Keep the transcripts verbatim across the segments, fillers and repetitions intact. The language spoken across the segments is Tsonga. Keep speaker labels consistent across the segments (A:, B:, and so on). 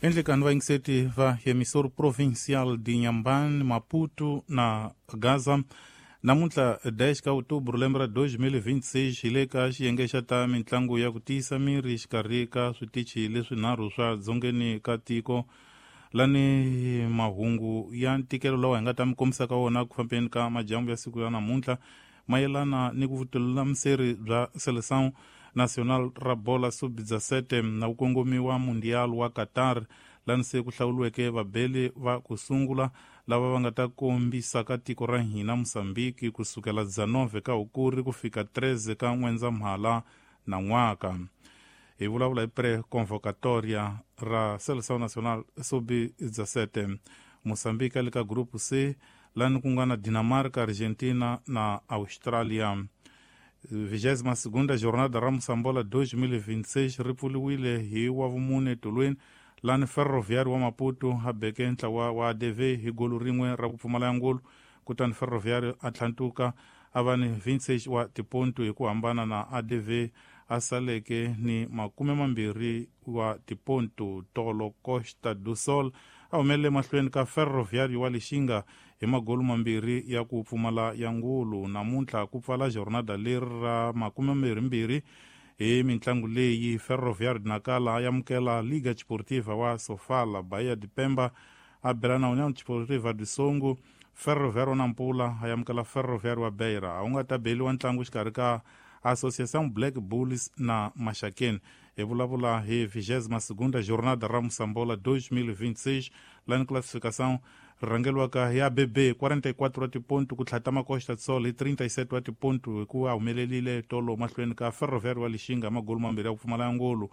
A: Endlekani vayingiseti va emissor provincial de Inhambane, Maputo na Gaza. Namuntlha dez ka outubro lembe ra dois mil e vinte e seis hi le ka xiyenge xa ta mitlangu ya ku tiyisa miri xikarhi ka switichi leswinharhu swa dzongeni ka tiko lani mahungu ya ntikelo lawa hi nga ta mi kombisa ka wona ku fambeni ka majambu ya siku ya namuntlha mayelana ni ku vutululamiseri bya Seleção Nacional ra bola sub dezessete na ku kongomiwa Mundial wa Qatar lani se ku hlawuriweke vabeli va ku sungula lava va nga ta kombisa ka tiko ra hina Mozambique kusukela dezenove ka Hukuri ku fika treze ka N'wendzamhala na n'waka. Hi vulavula hi pre-convocatoria ra Seleção Nacional sub dezessete. Mozambique le ka grupo C lani ku nga na Dinamarca, Argentina na Australia. Vigésima segunda jornada ra Moçambola dois mil e vinte e seis ri pfuriwile hi wavumune tolweni lani Ferroviário wa Maputo a beke ntlawa wa A D V hi golo rin'we ra ku pfumala ngolo kutani Ferroviário a tlhantuka a va ni vinte e seis wa tiponto hi ku hambana na A D V a saleke ni makume mambirhi wa tiponto. Tolo Costa do Sol a humelele mahlweni ka Ferroviário wa Lixinga hi magolo mambirhi ya ku pfumala ya ngulu. Namuntlha ku pfala jornada leri ra makume mambirhimbirhi hi mintlangu leyi Ferroviário de Nacala a amukela Liga Desportiva wa Sofala, Bahia de Pemba a bela na União Desportiva de Songo, Ferroviário Nampula a amukela Ferroviário wa Beira. A wu nga ta beliwa ntlangu xikarhi ka Associação Black Bulls na Maxakeni. Hi vulavula hi vigésima segunda jornada ra Moçambola dois mil e vinte e seis lani classificação rhangeriwaka hi A B B quarenta e quatro wa tiponto ku tlhatama Costa do Sol hi trinta e sete wa tiponto hi ku a humelelile tolo mahlweni ka Ferroviário wa Lixinga magolo mambirhi ya ku pfumala ngolo.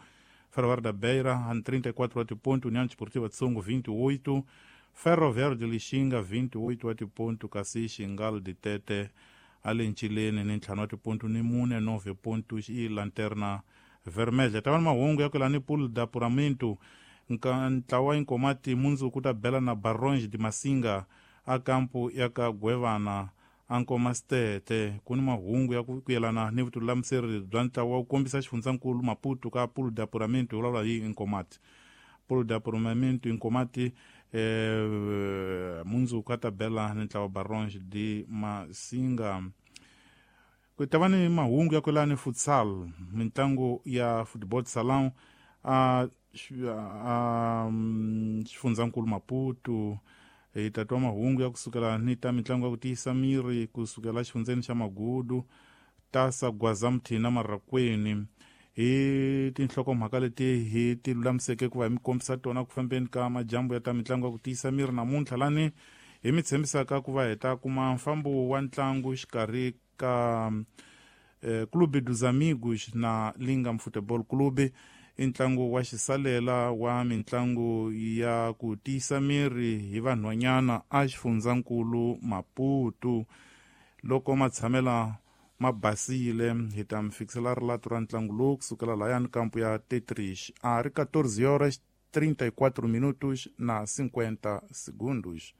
A: Ferroviário da Beira a trinta e quatro wa tiponto, União Desportiva de Songo vinte e oito, Ferroviário de Lixinga vinte e oito wa tiponto, kasi Xingal de Tete a le ncileni ni ntlhanu wa tiponto ni mune nove pontos i Lanterna Vermelha. Ta va ni mahungu ya ku lani pool da apuramento ntlawa Inkomati mundzuku ta bela na Baronge de Masinga a kampu ya ka Gwevana a Nkomastete. Ku ni mahungu ya ku yelana ni vutululamiseri bya ntlawa wu kombisa xifundzankulu Maputo ka pool da apuramento hi vulavula hi Inkomati. Pool da apuramento Inkomati eh, mundzuku a ta bela ni ntlawa Baronge de Masinga. Ku ta va ni mahungu ya ku yelana ni futsal, mitlangu ya football salão a a xifundzankulu Maputo. Hi ta twa mahungu ya kusukela ni ta mitlangu ya ku tiyisa miri kusukela xifundzeni xa Magudu, Tasa Gwazamthina Marakweni. Hi tinhlokomhaka leti hi ti lulamiseke ku va hi mi kombisa tona ku fambeni ka majambu ya ta mitlangu ya ku tiyisa miri namuntlha lani hi mi tshembisaka ku va hi ta kuma mfambo wa ntlangu xikarhi ka eh, Clube dos Amigos na Lingam Futebol Clube. I ntlangu wa xisalela wa mitlangu ya ku tiyisa miri hi vanhwanyana a xifundzankulu Maputo. Loko matshamela ma basile hi ta mi fikisela rilato ra ntlangu lowu kusukela lahayani kampu ya Tetrish a ri quatorze horas trinta e quatro minutos na cinquenta segundos.